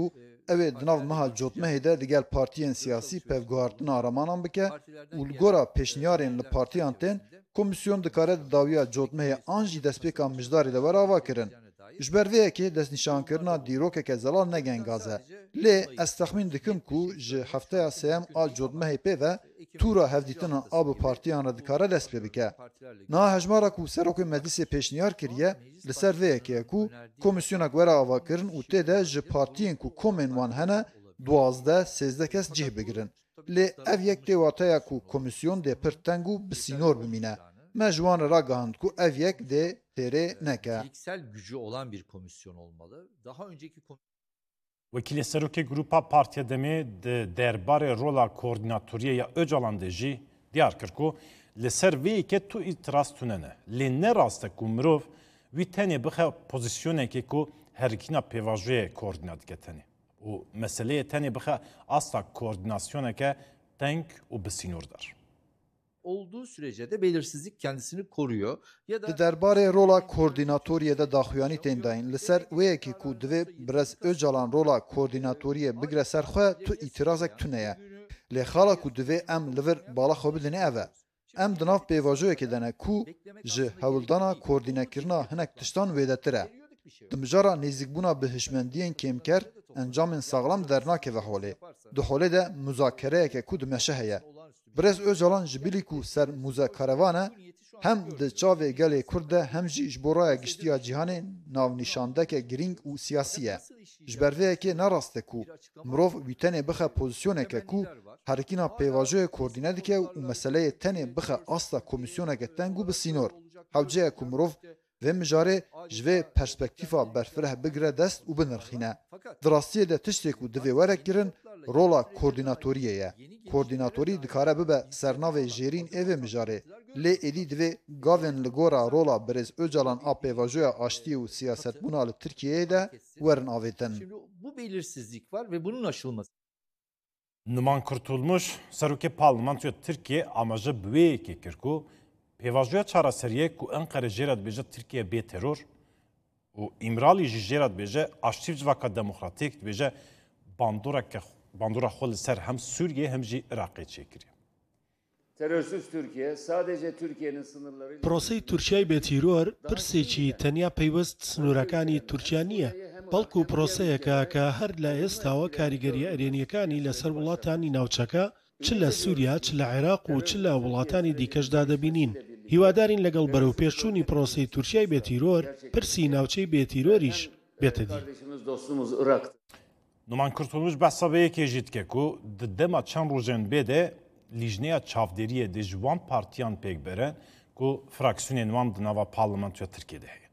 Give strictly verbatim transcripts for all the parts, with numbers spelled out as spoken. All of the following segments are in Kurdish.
û ew ê di nav meha cotmehê de digel partiyên siyasî pevguhartina aramanan bike û li gora pêşniyarên li partiyan tên, komîsyon dikare di dawiya cotmehê an jî destpêka mijdarê de were avakirin. Ji ber vê yekê destnîşankirina dîrokeke zelal ne gengaz e. Lê ez texmîn dikim ku ji hefteya sêyem a cotmehê pê ve tûra hevdîtinan a bi partiyan re dikare dest pê bike. Niha hejmara ku Serokê Meclisê pêşniyar kiriye, li ser vê yekê ye ku komîsyonek were avakirin û tê de ji partiyên ku komên wan hene, duwazdeh, sêzdeh kes cih bigirin. Lê ev yek tê wateya ku komîsyon dê pir teng û bi sînor bimîne. Me ji wan re ragihand ku ev yek dê têrê neke. Niteliksel gücü olan bir komisyon olmalı. Daha önceki kom- Wekîlê Serokê Grupa Partiya Demê di derbarê rola koordînatoriyê ya Ocalan de jî diyar kir ku li ser vê yekê tu îtiraz tune ne. Lê ne rast e ku mirov wî tenê bixe pozîsyonekê ku herikîna pêvajoyê koordîne dike tenê û meseleyê tenê bixe asta koordînasyoneke teng û bi sînordar. olduğu sürece de belirsizlik kendisini koruyor. Ya da Di derbarê rola koordînatoriyê de daxuyanî tên dayîn. Li ser wê yekê ku divê Birêz Ocalan rola koordînatoriyê bigre ser xwe, tu îtirazek tune ye. Lê xala ku divê em li vir bala xwe bidin ev e. Em di nav pêvajoyekê de ne ku ji hewldana koordînekirina hinek tiştan wêdetir e. Di mijara nêzîkbûna bi hişmendiyên kêmker, encamên saxlem dernakeve holê. Di holê de muzakereyeke ku dimeşe heye. Birêz Ocalan ji bilî ku ser muzakarevan e, hem di çavê gelê Kurd de hem jî ji bo raya giştî ya cîhanê navnîşandeke girîng û siyasî ye. Ji ber vê yekê ne rast e ku mirov wî tenê bixe pozîsyoneke ku herikîna pêvajoyê koordîne dike û meseleyê tenê bixe asta komîsyoneke teng û bi sînor. Hewce ye ku mirov vê mijarê ji vê perspektîfa berfireh bigire dest û binirxîne. Di rastiyê de tiştê ku divê were kirin, rola koordînatoriyê ye. Koordînatorî dikare bibe sernavê jêrîn ê vê mijarê. Lê êdî divê gavên li gora rola Birêz Ocalan a pêvajoya aştiyê û siyasetbûna li Tirkiyeyê de werin avêtin. Şimdi bu belirsizlik var ve bunun aşılması. Numan Kurtulmuş, Serokê Parlamentoya Tirkiyê amaje bi wê yekê kir ku pêvajoya çareseriyê ku Enqere jê re dibêje Tirkiye bê teror û Îmralî jî jê re dibêje aştî bi civaka demokratîk, dibêje bandoreke, bandora xwe li ser hem Sûriyê hem jî Iraqê çêkiriye. Terörsüz Türkiye sadece Türkiye'nin sınırlarıyla پرۆسەی تورکیای بێتیرۆر پرسێکی تەنیا پەیوەست سنوورەکانی تورکیا نییە، بەڵکو پرۆسەیەکە کە هەر لە ئێستاوە کاریگەرییە ئەرێنییەکانی لەسەر وڵاتانی ناوچەکە، چ لە سووریا، چ لە عێراق و چ لە وڵاتانی دیکەشدا دەبینین. هیوادارین لەگەڵ بەرەوپێشچوونی پرۆسەی تورکیای بێتیرۆر، پرسی ناوچەی بێتیرۆریش بێتە دی. Kardeşimiz, dostumuz Irak'ta. Numan Kurtulmuş behsa vê yekê jî dike ku di dema çend rojên bê de lîjneya çavdêriyê dê ji wan partiyan pêk bere ku fraksiyonên wan di nava parlamentoya Tirkiyê de heye.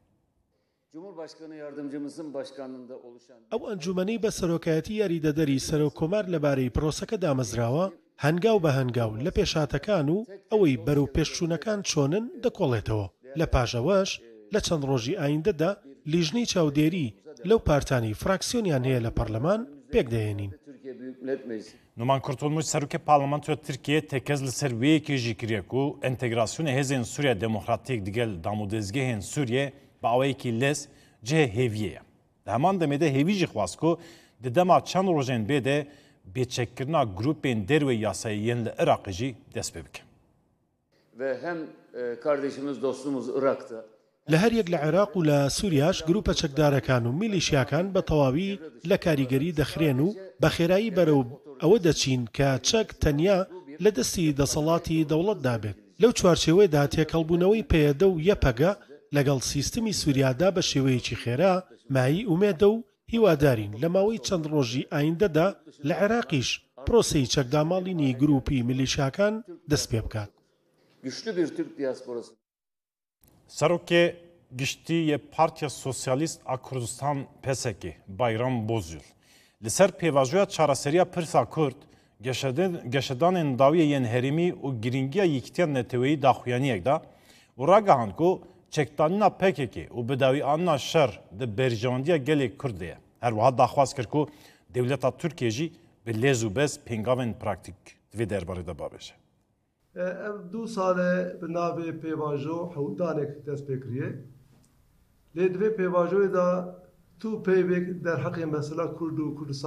Cumhurbaşkanı yardımcımızın başkanlığında oluşan ئەو ئەنجومەنەی بە سەرۆکایەتی یاریدەدەری سەرۆککۆمار لەبارەی پرۆسەکە دامەزراوە، هەنگاو بە هەنگاو لە پێشهاتەکان و ئەوەی بەرەو پێشچوونەکان چۆنن دەکۆڵێتەوە. لە پاش ئەوەش لە چەند ڕۆژی ئایندەدا لیژنەی چاودێری لەو پارتانەی فراکسیۆنیان هەیە لە پەرلەمان پێکدەهێنین. Türkiye Büyük Millet Meclisi. Numan Kurtulmuş, Serokê Parlamentoya Tirkiyê tekez li ser wê yekê jî kiriye ku entegrasyona hêzên Sûriya Demokratîk digel damûdezgehên Sûriyê bi awayekî lez cihê hêviyê ye. Di heman demê de hêvî jî xwest ku di dema çend rojên bê de bêçekkirina grûpên derwê yasayê yên li Iraqê jî dest pê bike. Ve hem e, kardeşimiz, dostumuz Irak'ta لە هەر یەک لە عێراق و لە سووریاش گروپە چەکدارەکان و میلیشیاکان بە تەواوی لە کاریگەری دەخرێن و بە خێرایی بەرەو ئەوە دەچین کە چەک تەنیا لە دەستی دەسەڵاتی دەوڵەتدا بێت. لەو چوارچێوەیەدا تێکەڵبوونەوەی پەیەدە و یەپەگە لەگەڵ سیستمی سووریادا بە شێوەیەکی خێرا مایەی ئومێدە و هیوادارین لە ماوەی چەند ڕۆژی ئایندەدا لە عێراقیش پرۆسەی چەکداماڵینی گروپی میلیشیاکان دەست پێ بکات. Güçlü bir Türk diasporası. Serokê Giştî yê Partiya Sosyalîst a Kurdistan, P S K, Bayram Bozyol, li ser pêvajoya çareseriya pirsa Kurd, geşeden- geşedanên dawiyê yên herêmî û girîngiya yekîtiya neteweyî daxuyaniyek da û ragihand ku çekdanîna P K K û bidawîanîna şer di berjewendiya gelê Kurd de ye. Her wiha daxwaz kir ku dewleta Tirkiyê jî bi lez û bez pêngavên praktîk di vê derbarê de bavêje. Ev du sal e bi navê pêvajo hewldanek dest pê kiriye. Lê di vê pêvajoyê de Tu peyvek derheqê mesela Kurd û Kurdistan